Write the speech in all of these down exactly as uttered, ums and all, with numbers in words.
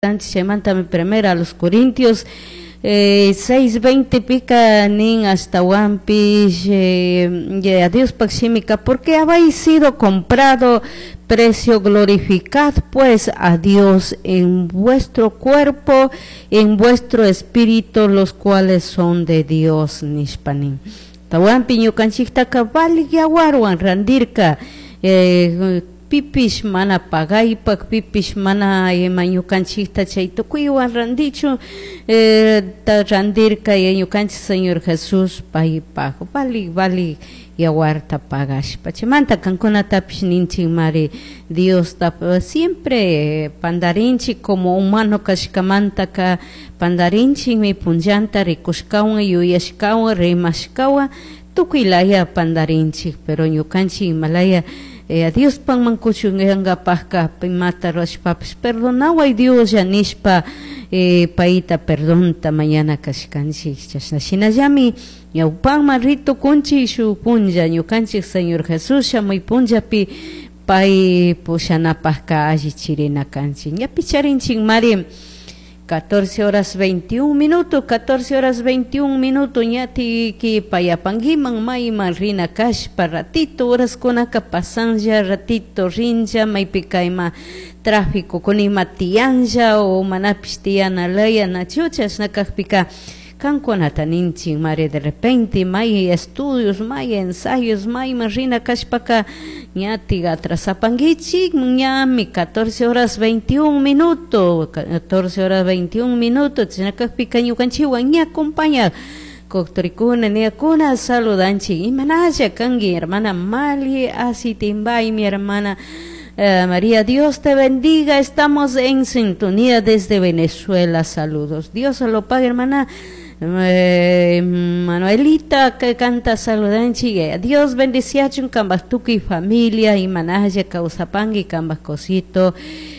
Chaymantami primera a los Corintios eh, seis veinte pika nin ashtawanpish eh, a Diospaj shimika, porque habéis sido comprado precio, glorificad pues a Dios en vuestro cuerpo, en vuestro espíritu, los cuales son de Dios, nishpa nin. Tawanpi ñukanchiktaka valik yawarwan randirka, eh, pipish mana pagaypak, pipish mana ima ñukanchikta chay tukuywan randichu, eh, ta randirka ñukanchik Señor Jesús paypak valik valik yawarta pagashpa. Chaymanta kankunatapish ninchik mari, Diosta siempre pandarinchik, como humano kashkamantaka pandarinchikmi, punllanta rikushkawan, yuyashkawan, rimashkawan, tukuy laya pandarinchik, pero ñukanchik imalaya eh, a Diospakman kuchuyankapakka imata rurashpapish perdonaway Dioslla nishpa, eh, payta perdonta mañana kashkanchik. Chashna shinallami ñawpakman ritukunchik shuk punlla ñukanchik Señor Jesús shamuy punllapi pay pushanapakka allichirina kanchik. Ñapi charinchik mari catorce horas veintiún minutos, catorce horas veintiún minutos, ñatiki payapanguiman mayman rina kashpa ratito horas kunaka pasanlla ratito rinlla maypika ima tráfico kuna ima tiyanlla o manapish tiyana laya nachu chashna kakpika kankunata ninchik mari, de repente may estudios, may ensayos, mayman rina kashpaka ñatik atrasapanguichik, ñami catorce horas veintiún minutos, catorce horas veintiún minutos, chashna kakpika ñukanchikwan ña acompaña coctorikuna, niakuna saludanchik, imanalla kanki hermana Mali Asitimbay, mi hermana eh, María, Dios te bendiga, estamos en sintonía desde Venezuela, saludos. Dios lo pague, hermana eh, Manuelita que canta saludanchi, Dios bendiciachun kambaj tukuy familia imanalla kawsapanki kambaj cosito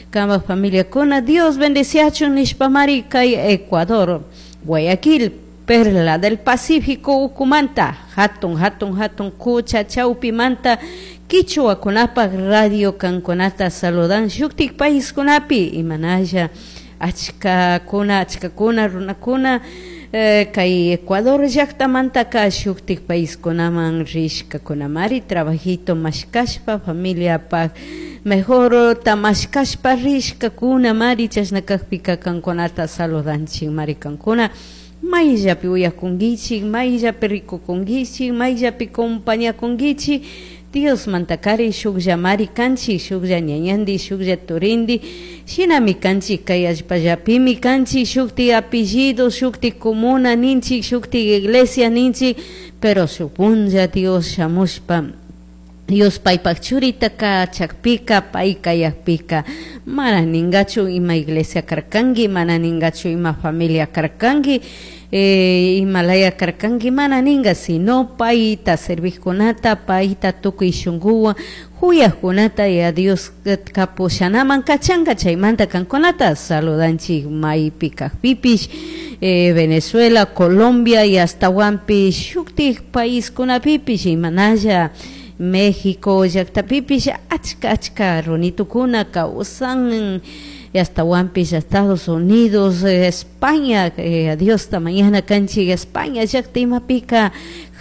kambaj familia kuna Dios bendiciachun nishpamari kay Ecuador, Guayaquil, Perla del Pacífico ukumanta, hatun hatun hatun kucha chawpimanta kichwakunapaj radio kankunata saludan shuktik paiskunapi imanalla achkakuna achkakuna runakuna eh, kay Ecuador llaktamantaka shuktik paiskunaman rishkakunamari trabajito mashkashpa familiapaj mejor tamashkashpa rishkakuna mari chashna kakpika kankunata saludanchik mari kankuna mayllapi uyakunkichik, mayllapi rikukunkichik, mayllapi compañakunkichik, Dios mantakari shuklla mari kanchik, shuklla ñañandi, shuklla turindi, shinami kanchik kay allpallapimi kanchik, shukti apellido, shukti comuna ninchik, shukti iglesia ninchik, pero shuk punlla Dios shamushpa Dios paypak churitaka chakpika pay kayakpika mana ningachu ima iglesia karkanki, mana ningachu ima familia karkanki, eh, imalaya karkanki, mana ninga, sino payta servijkunata, payta tukuy shunkuwan huyajkunata y a Dios kapushanaman kachanka. Chaymanta kankunata saludanchik maypi kajpipish, eh, Venezuela, Colombia y hasta huampi shuktik paiskunapipish imanalla México llaktapipish achka achka runitukuna kawsan, hasta huampish Estados Unidos, España, eh, Diosta mañana kanchik España llakta imapika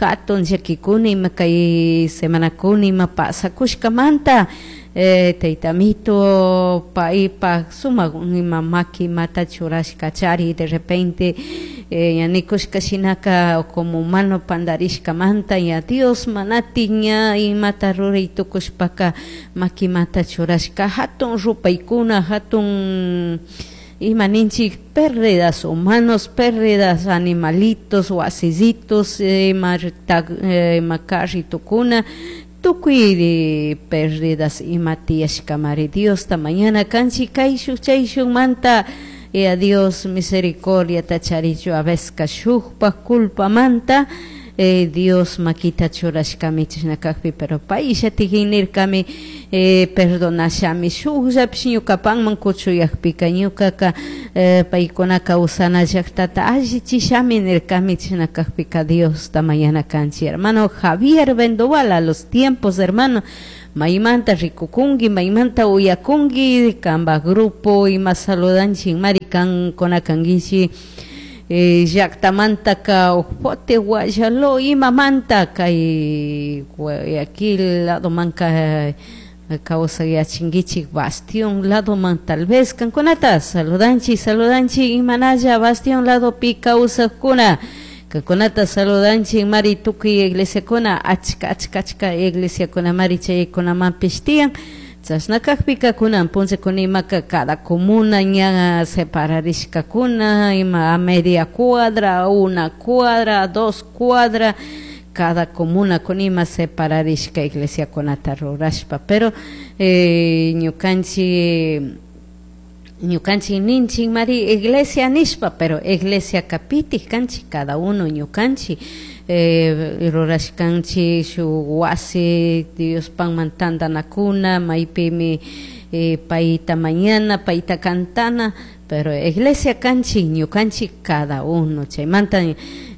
hatun llakikuna ima kay semanakuna ima pasakushkamanta, eh, taytamito paypak sumak ima maki imata churashka chari de repente eh, ña nikushka shinaka como humano pandarishkamanta ña Dios manati ña imata ruray tukushpaka makimata churashka hatun rupaykuna hatun ima ninchik pérdidas humanos, pérdidas animalitos, wasisitos, ima, ima carritukuna, tukuy pérdidas ima tiyashkamari. Diosta mañana kanchik kayshuk chayshukmanta y a Dios misericordia tacharichu a veces shukpak culpamanta, eh, Dios makita churashkami chashna kakpi, pero payllatikin nirkami, eh, perdonashami shukllapish ñukapanman kuchuyakpika ñukaka, eh, paykuna kawsana llaktata allichishami nirkami chashna kakpika Diosta mañana kanchik. Hermano Javier Vendoval, a los tiempos, hermano, Maymanta rikukunki, maymanta uyakunki, kanpak grupo ima saludanchik mari kankuna kankichik eh, llaktamantaka Ojote, Guayaló imamanta kay Guayaquil ladomanka kawsayachinkichik Bastión ladoman tal vez kankunata saludanchik, saludanchik imanalla Bastión ladopi kawsakuna. Kankunata saludanchik mari tukuy iglesiakuna achka achka achka iglesiakuna mari chaykunamanpish tiyan. Chashna kakpika kunan punllakuna imaka cada comuna ña separarishkakuna ima a media cuadra, una cuadra, dos cuadra, cada comuna kun ima separarishka iglesiakunata rurashpa, pero eh, ñukanchik ñukanchik ninchik mari iglesia nishpa, pero iglesia kapitik kanchik cada uno ñukanchik eh, rurashkanchik shuk wasi Diospakman tantanakuna maypimi eh, payta mañana payta cantana, pero iglesia kanchik ñukanchik cada uno. Chaymanta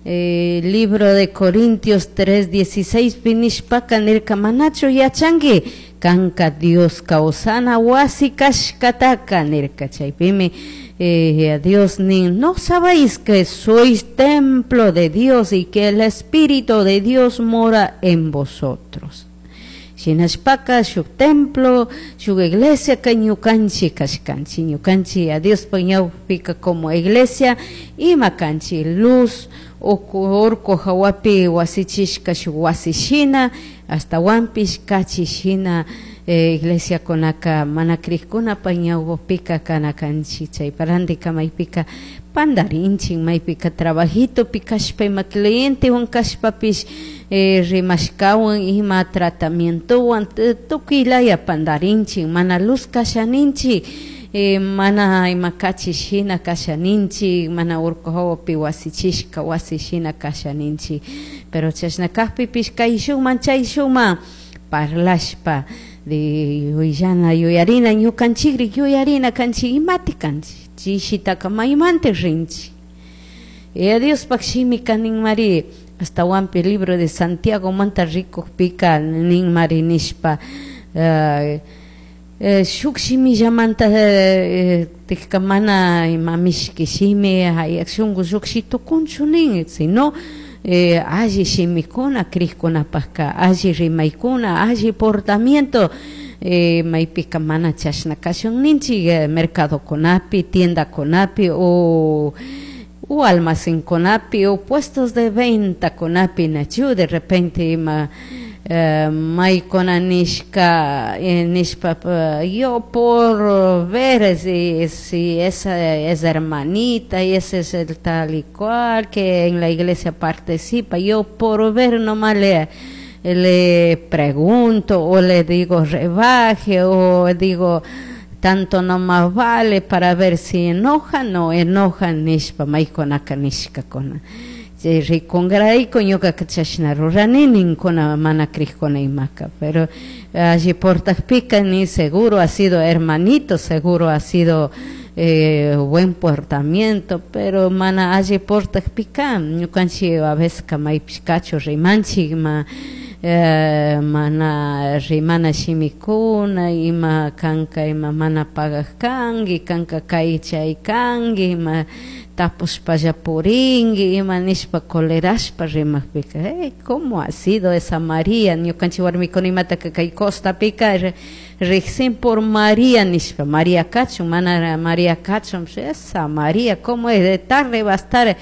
eh, libro de Corintios tres dieciséis nishpaka nirka manachu yachanki kanka Dios kawsana wasi kashkataka nirka. Chaypimi eh, Dios nin, no sabéis que sois templo de Dios y que el Espíritu de Dios mora en vosotros. Shinashpaka shuk templo, shuk iglesia ka ñukanchik kashkanchik, ñukanchik a Diospa ñawpika como iglesia ima kanchik luz urku hawapi wasichishka shuk wasi shina, ashtawanpish kachi shina eh, iglesiakunaka mana krikkunapa ñawpapika kana kanchik. Chaypa randika maypika pandarinchik, maypika trabajitopi kashpa ima clientewan kashpapish eh, rimashkawan ima tratamientowan tukuy laya pandarinchik, mana luz kashaninchik, eh, mana ima kachi shina kashaninchik, mana urku hawapi wasichishka wasi shina kashaninchik. Pero chashna kakpipish kayshukman chayshukman parlashpa de yuyana yuyarina ñukanchikri yuyarina kanchik imati kanchik chishitaka maymanta rinchik. E Diospaq shimika ninmari ashtawanpi libro de Santiago manta rikukpika ninmari nishpa uh, eh, shuk shimillamanta eh, tikka mana ima mishki shimi hayak shunku llukshi tukunchu nin, sino eh, alli shimikuna krikkunapakka alli rimaykuna alli portamiento eh, maypika mana chashna kashun ninchik eh, mercadokunapi tiendakunapi o o almacenkunapi o puestos de venta kunapi nachu de repente ima eh, maykuna nishka eh, nishpa yo por ver si, si esa es hermanita y ese es el tal y cual que en la iglesia participa, yo por ver nomás le, le pregunto o le digo rebaje o digo tanto nomás vale para ver si enojan o enojan nishpa maykunaka nishkakuna. Chay rikunkarayku ñukaka chashna rurani ninkuna mana krikuna imaka, pero alli portakpika ni seguro ha sido hermanito, seguro ha sido eh, buen portamiento, pero mana alli portakpika ñukanchik a veces maypish kachu rimanchik ima eh, mana rimana shimikuna ima kanka ima mana pagak kanki kanka kay chay kanki ima tapushpalla purinki ima nishpa colerashpa rimakpika hey, ¿cómo ha sido esa María? Ñukanchik warmikuna imataka kay costapika riksin por María nishpa María kachun mana María kachun esa María ¿cómo es? De tarde va a estar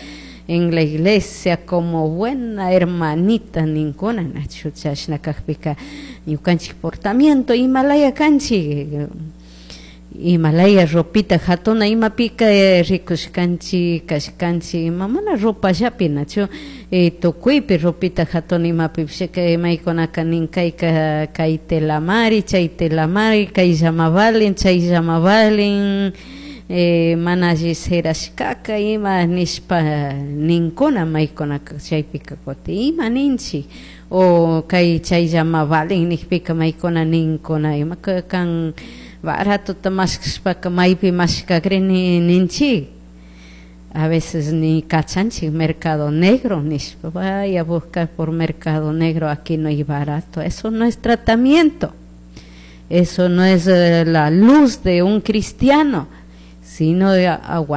en la iglesia como buena hermanita ninkuna nachu chashna kakpika ñukanchik portamiento imalaya kanchik imalaya ropita hatuna imapika eh, rikushkanchik kashkanchik ima mana ropallapi nachu eh, tukuypi ropita hatuna imapipish maykunaka nin kayka kay telamari chay telamari kayllama valin chayllama valin eh, mana alli serashkaka ima nishpa ninkuna maykunaka chaypika kutin ima ninchik o kay chayllama valin nikpika maykuna ninkuna ima kan baratota mashkashpaka maypi mashkakrini ninchik. A veces ni kachanchik mercado negro nishpa vaya a buscar por mercado negro, aquí no hay barato, eso no es tratamiento. Eso no es eh, la luz de un cristiano, sino de aguantar.